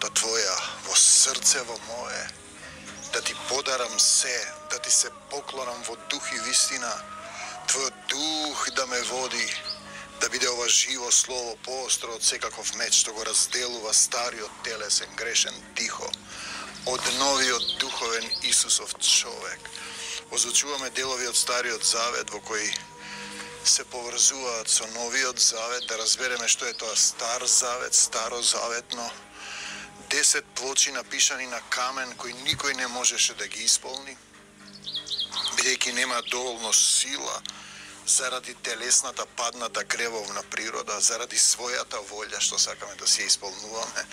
волјата Твоја во срцево мое, да Ти подарам се, да Ти се поклонам во дух и вистина, Твојот дух да ме води, да биде ова живо слово поостро од секаков меч, што го разделува стариот телесен грешен дихо од новиот духовен Исусов човек. Озучуваме делови од Стариот Завет во кои се поврзуваат со Новиот Завет, да разбереме што е тоа Стар Завет, Старозаветно, 10 плочи напишани на камен кои никој не можеше да ги исполни, бидејќи нема доволно сила заради телесната падната гревовна природа, заради својата волја што сакаме да се исполнуваме,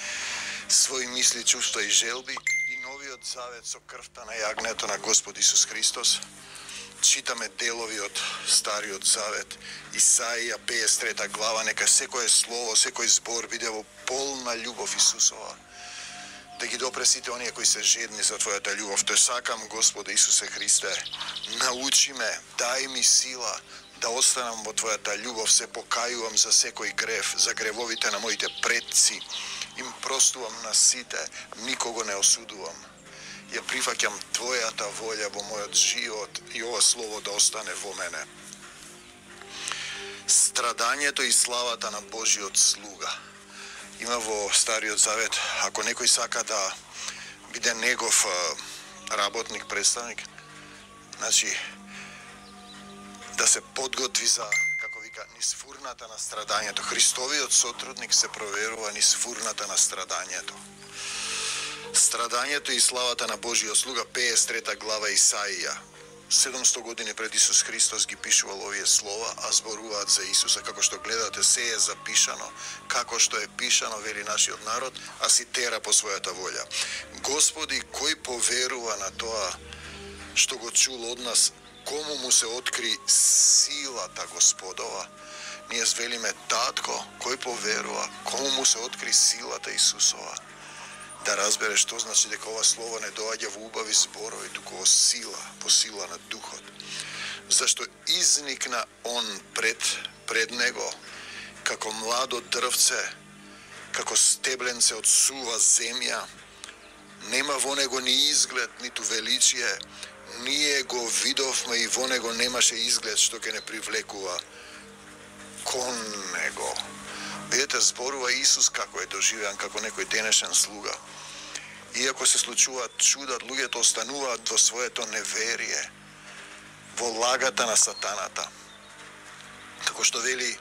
своји мисли, чувства и желби. И Новиот Завет со крвта на јагнето на Господ Исус Христос. Читаме делови од Стариот Завет, Исаија 53 глава, нека секое слово, секој збор биде во полна љубов Исусова, да ги допре сите оние кои се жедни за Твојата љубов. Те сакам, Господе Исусе Христе, научи ме, дај ми сила да останам во Твојата љубов, се покајувам за секој грев, за гревовите на моите предци, им простувам на сите, никого не осудувам. Ја прифаќам Твојата волја во мојот живот и ова слово да остане во мене. Страдањето и славата на Божиот слуга. Има во Стариот Завет, ако некој сака да биде негов работник, представник, значи да се подготви за, како вика, низ фурната на страдањето. Христовиот сотрудник се проверува низ фурната на страдањето. Страдањето и славата на Божиот слуга, 53 глава Исаија. 700 години пред Исус Христос ги пишувал овие слова, а зборуваат за Исуса. Како што гледате, се е запишано, како што е пишано, вели нашиот народ, а си тера по својата волја. Господи, кој поверува на тоа што го чул од нас, кому му се откри силата Господова? Ние звелиме татко, кој поверува, кому му се откри силата Исусова? Да разбере што значи дека ова слово не доаѓа во убави зборови, туку во сила, по сила на духот. Зашто изникна он пред него, како младо дрвце, како стебленце од сува земја, нема во него ни изглед, ниту величие, ние го видовме и во него немаше изглед што ќе не привлекува кон него. Видете, зборува Исус како е доживеан, како некој денешен слуга. Иако се случуваат чуда, луѓето остануваат во своето неверие, во лагата на сатаната. Како што вели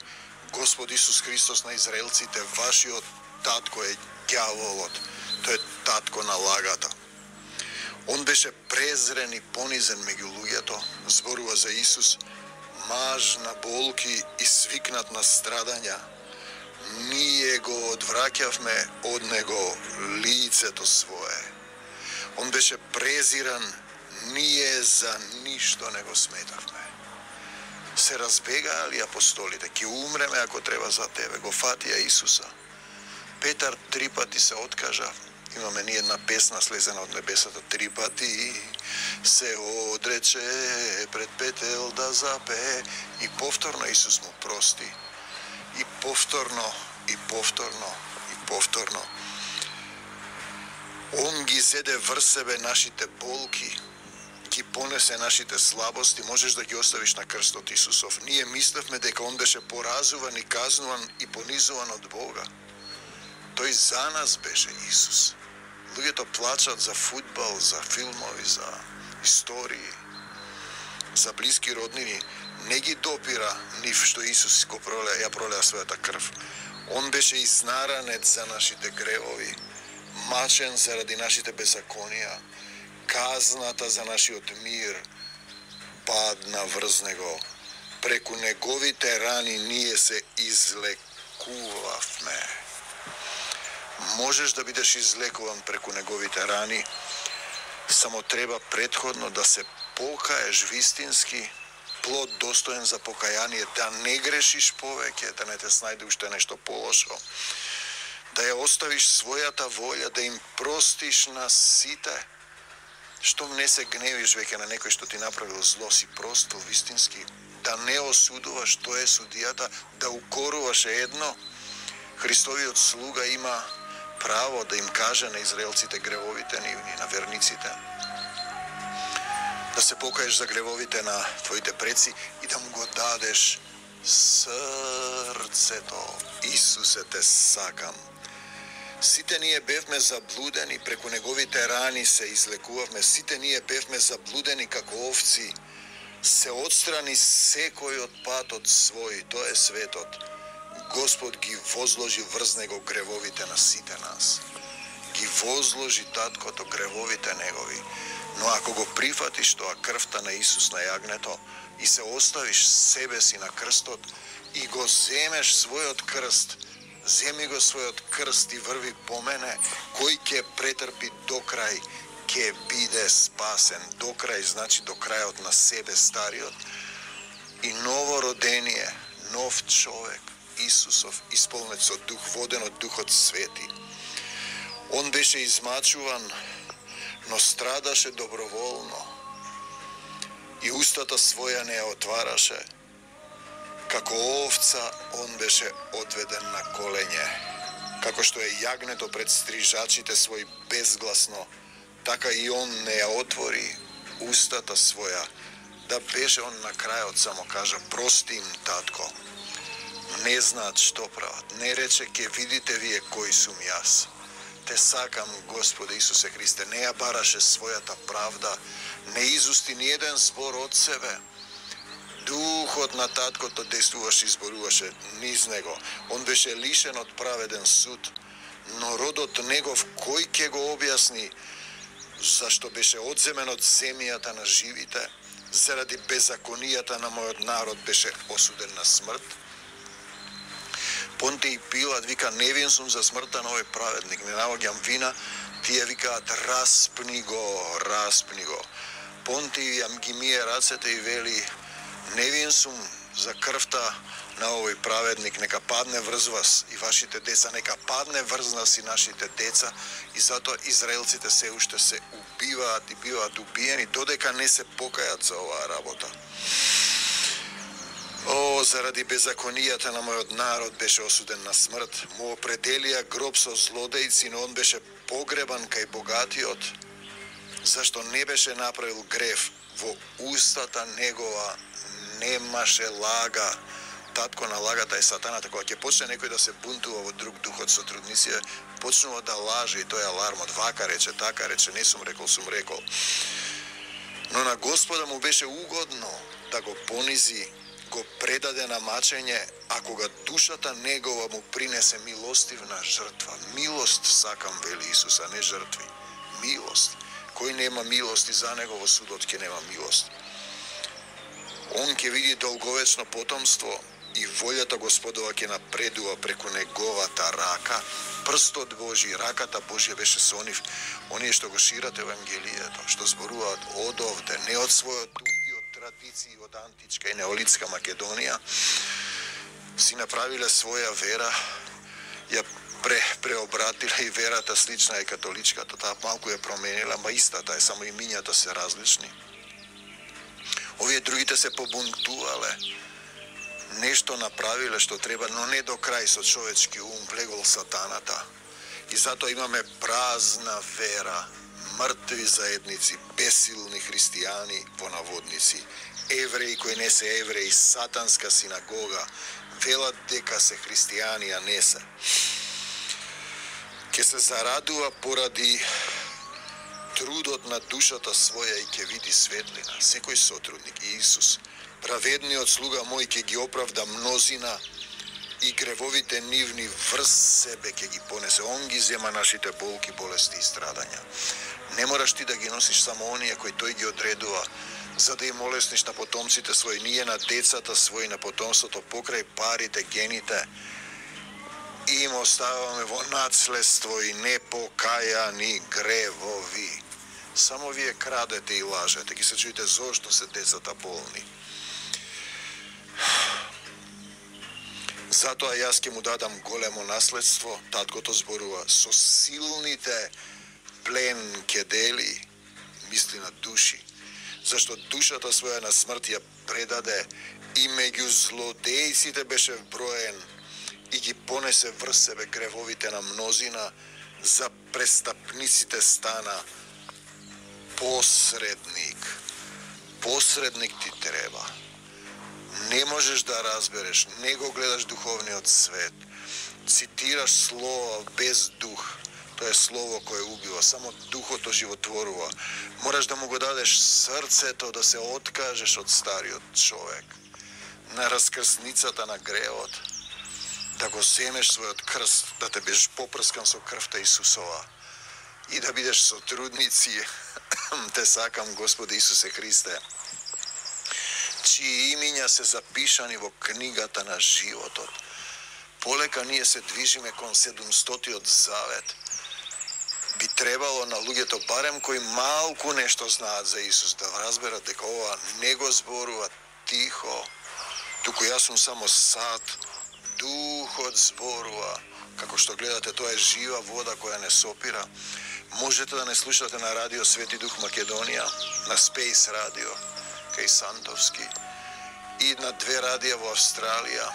Господ Исус Христос на израелците, вашиот татко е ѓаволот, тој е татко на лагата. Он беше презрен и понизен меѓу луѓето, зборува за Исус, маж на болки и свикнат на страдања. Ние го одвраќавме од него лицето свое. Он беше презиран, ние за ништо не го сметавме. Се разбегаали апостолите, ќе умреме ако треба за тебе. Го фатија Исуса. Петар 3 пати се откажа. Имаме ни една песна слезена од небесата, 3 пати се одрече пред петел да запее. И повторно Исус му прости. И повторно, и повторно, и повторно. Он ги зеде врз себе нашите болки, ги понесе нашите слабости, можеш да ги оставиш на крстот Исусов. Ние мислевме дека он беше поразуван и казнуван и понизуван од Бога. Тој за нас беше Исус. Луѓето плачат за фудбал, за филмови, за истории, за блиски роднини. Не ги допира нив што Исус го пролеа, ја пролеа својата крв. Он беше изнаранет за нашите гревови, мачен заради нашите беззаконија, казната за нашиот мир падна врз него. Преку неговите рани ние се излекувавме. Можеш да бидеш излекуван преку неговите рани, само треба претходно да се покаеш вистински, плод достоен за покаяние, да не грешиш повеќе, да не те снајде уште нешто полошо, да ја оставиш својата волја, да им простиш на сите, штом не се гневиш веќе на некој што ти направил зло, си простил вистински, да не осудуваш, тоа е судијата, да укоруваш едно. Христовиот слуга има право да им каже на израелците гревовите нивни, на верниците, да се покаеш за гревовите на твоите предци и да му го дадеш срцето. Исусе, те сакам. Сите ние бевме заблудени, преку неговите рани се излекувавме. Сите ние бевме заблудени како овци. Се отстрани секој од патот свој, тоа е светот. Господ ги возложи врз него гревовите на сите нас. Ги возложи таткото гревовите негови. Но ако го прифатиш тоа крвта на Исус на јагнето и се оставиш себе си на крстот и го земеш својот крст, земи го својот крст и врви по мене, кој ќе претрпи до крај, ќе биде спасен. До крај значи до крајот на себе стариот и ново родение, нов човек, Исусов, исполнет со дух, воден од Духот Свети. Он беше измачуван, но страдаше доброволно и устата своја не ја отвараше. Како овца, он беше одведен на колене. Како што е јагнето пред стрижачите свој безгласно, така и он не ја отвори устата своја. Да беше он на крајот само кажа, прости им, татко. Не знаат што прават. Не рече, ке видите вие кој сум јас. Те сакам, Господе Исусе Христе. Не ја бараше својата правда. Не изусти ни еден збор од себе. Духот на таткото действуваше и зборуваше низ него. Он беше лишен од праведен суд. Но родот негов, кој ќе го објасни зашто беше одземен од земјата на живите? Заради беззаконијата на мојот народ беше осуден на смрт. Понтиј Пилат вика, невин сум за смртта на овој праведник, не наоѓам вина, тие викаат, распни го, распни го. Понтиј јам ги мие рацете и вели, невин сум за крвта на овој праведник, нека падне врз вас и вашите деца, нека падне врз нас и нашите деца, и затоа израелците се уште се убиваат и биваат убиени, додека не се покајат за оваа работа. О, заради беззаконијата на мојот народ беше осуден на смрт. Му определија гроб со злодејци, но он беше погребан кај богатиот. Зашто не беше направил грев, во устата негова немаше лага. Татко на лагата е сатаната. Кога ќе почне некој да се бунтува во друг дух од сотрудници, почнува да лаже и тој алармот. Вака рече, така рече, не сум рекол, сум рекол. Но на Господа му беше угодно да го понизи, го предаде на мачење, а кога душата негова му принесе милостивна жртва. Милост сакам, вели Исус, а не жртви. Милост. Кој нема милост и за него во судот ќе нема милост. Он ќе види долговечно потомство и волјата Господова ќе напредува преку неговата рака. Прстот Божи, раката Божја беше со нив. Оние што го шират Евангелието, што зборуваат од овде, не од својот дух и од традиции од античка и неолитска Македонија, си направиле своја вера, ја преобратиле и верата слична е католичката, таа малку ја променила, ама истата е, само имињата се различни. Овие другите се побунтувале, нешто направиле што треба, но не до крај со човечки ум влегол сатаната. И затоа имаме празна вера, мртви заедници, бесилни христијани по наводници, евреи кои не се евреи, сатанска синагога, велат дека се христијани, а не се. Ке се зарадува поради трудот на душата своја и ќе види светлина. Секој сотрудник, Исус, праведниот слуга мој, ќе ги оправда мнозина и гревовите нивни врз себе ќе ги понесе. Он ги зема нашите болки, болести и страдања. Не мораш ти да ги носиш само оние кои тој ги одредува, за да им олесниш на потомците своји, ние на децата своји, на потомството, покрај парите, гените, им оставаме во наследство и непокајани гревови. Само вие крадете и лажете, ги се чуете зошто се децата болни. Затоа јас ќе му дадам големо наследство, таткото зборува, со силните плен ќе дели, мисли на души, зашто душата своја на смрт ја предаде и меѓу злодејците беше вброен и ги понесе врз себе гревовите на мнозина, за престапниците стана посредник. Посредник ти треба. Не можеш да разбереш, не го гледаш духовниот свет. Цитираш слово без дух. Тоа е слово кое убива, само духот оживотворува. Мораш да му го дадеш срцето, да се откажеш од стариот човек. На раскрсницата на гревот, да го земеш својот крст, да те бидеш попрскан со крвта Исусова и да бидеш сотрудници. Те сакам, Господи Исусе Христе, чии имиња се запишани во книгата на животот. Полека ние се движиме кон 700-тиот завет. Би требало на луѓето, барем кои малку нешто знаат за Исус, да разберат дека ова не го зборува тихо, туку јас сум само сад, духот зборува. Како што гледате, тоа е жива вода која не сопира. Можете да не слушате на радио Свети Дух Македонија, на Space радио, кај Сантовски, и на 2 радија во Австралија,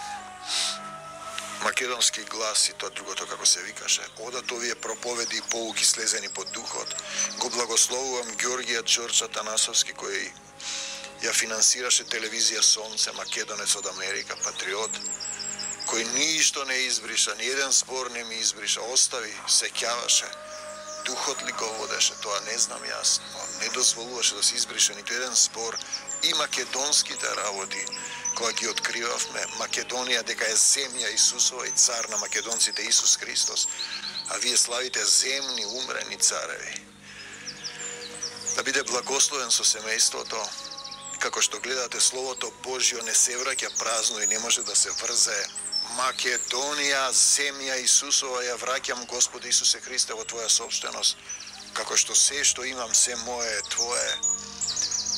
Македонски глас и тоа другото како се викаше. Одат овие проповеди и поуки слезени под духот. Го благословувам Ѓорѓија Ѓорча Танасовски, кој ја финансираше телевизија Сонце, македонец од Америка, патриот, кој ништо не избриша, ни еден збор не ми избриша, остави, сеќаваше. Духот ли го водеше, тоа не знам јас, но не дозволуваше да се избрише ниту еден збор. И македонските работи, кога ги откривавме, Македонија дека е земја Исусова и цар на македонците Исус Христос, а вие славите земни умрени цареви. Да биде благословен со семејството, како што гледате Словото Божјо не се враќа празно и не може да се врзе. Македонија, земја Исусова, ја враќам, Господи Исусе Христе, во Твоја собственост, како што се што имам, се мое е Твое.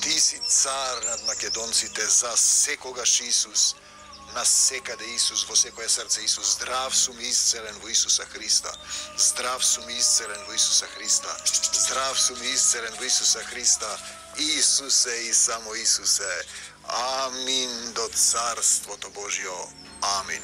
Ти си цар над македонците, за секогаш Исус, на секаде Исус, во секое срце Исус. Здрав сум исцелен во Исуса Христа. Здрав сум исцелен во Исуса Христа. Здрав сум исцелен во Исуса Христа. Исусе и само Исусе. Амин до Царството Божјо. Амин.